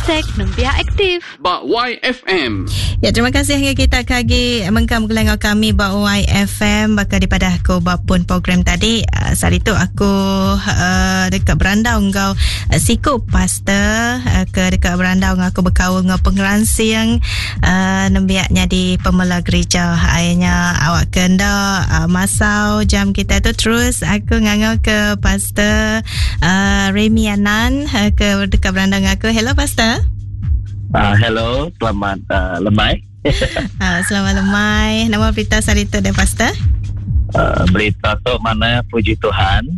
Hashtag Nembiak Aktif. Ba YFM. Ya, terima kasih ngagai kita ke agi mengkang begulai enggau kami ba YFM baka dipadah aku ba pun program tadi. Uh, sehari tu aku uh, deka berandau enggau uh, siku pastor uh, ke deka berandau enggau aku bekaul enggau pengeransing uh, nembiak nyadi pemela gereja. Akhirnya awak ke enda uh, masau jam kita tu terus aku ngangau ke pastor uh, Remy Anan uh, ke deka berandau enggau aku. Hello pastor. Hello, selamat lemai. Selamat lemai. Nama berita sehari tu deh pastor? Berita tu mana puji Tuhan.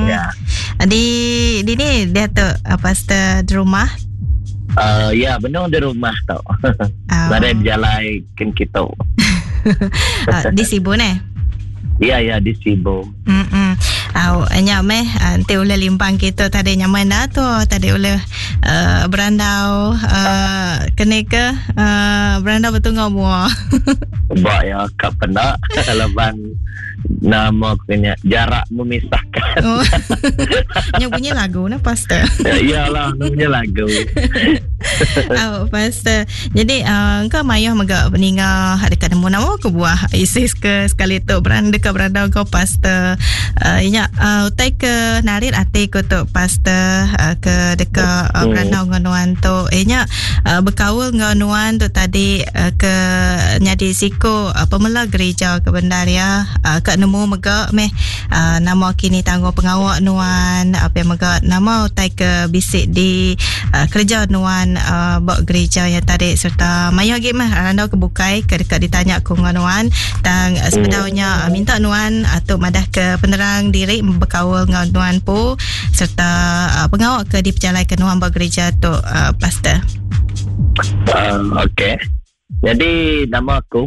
Ya. Di di ni dia tu pastor di rumah? Ya, benung di rumah tu. Nadai bejalai kin kitu. Di Sibu neh? Ya, ya di Sibu. Mm-mm. Au nya meh enti ulih limpang kitu tadi nya meh enda tu tadi ulih uh, berandau uh, keni ke uh, berandau betunga mua. Ba ya ka penda laban nama ku nya jarak memisahkan. Oh. Nya bunyi lagu nah pastor. Ya, iyalah bunyi lagu. Oh, pastor. Jadi uh, engka mayuh mega peninga dekat nemu nama ke buah ISIS ke sekali tu beran deka berandau enggau pastor. Uh, inya uh, utai ke narit ati ku tu pastor uh, ke deka uh, berandau enggau nuan tu. Inya uh, bekaul enggau nuan tu tadi uh, ke nyadi siku uh, pemela gereja ke bendar ya. Uh, ka nemu mega meh uh, nama kini tanggung pengawa nuan apa mega nama utai ke bisi di uh, kereja nuan uh, ba gereja ya tadi serta mayuh agi meh randau ke bukai ke deka ditanya ku enggau nuan tang uh, sebedaunya uh, minta nuan uh, tu madah ke penerang diri bekaul enggau nuan pu serta uh, pengawa ke dipejalaika nuan ba gereja tu uh, pastor. Okey. Jadi nama aku.